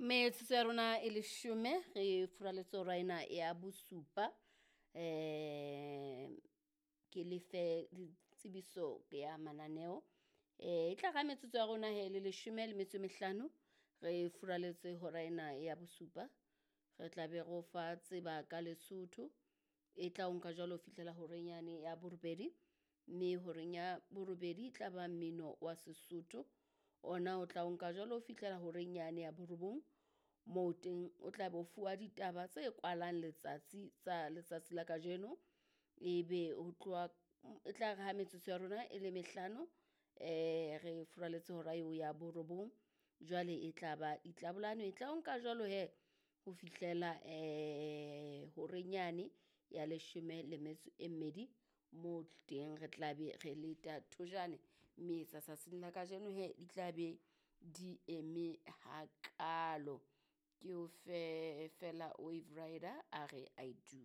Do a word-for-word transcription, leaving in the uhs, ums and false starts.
Metsotso ya rona e leshome re furaletse hora ena ya bosupa. Um ke lefe ditsebiso ya mananeo. E tla ra metsotso ya rona he le leshome le metso e mehlano re furaletse hora ena ya bosupa. Re tla be re o fa tseba ka Lesotho e tla o nka jwalo ho fihlela horeng yane ya borobedi, mme horeng ya borobedi e tla ba mmino wa Sesotho. Ona o tla o nka jwalo ho fihlela horeng yane ya borobong, moo teng o tla be o fuwa ditaba tse kwalang letsatsi tsa letsatsi la kajeno. Ebe ho tloha e tla re ha metsotso ya rona e le mehlano re furaletse hora eo ya borobong, jwale e tla ba ditlabolano e tla o nka jwalo hee ho fihlela horeng yane ya leshome le metso e mmedi moo teng re tla be re leta thojane, mme tsa tsatsing la kajeno hee di tla be di eme hakalo. Ke o fe feela Wave Raider a re I do.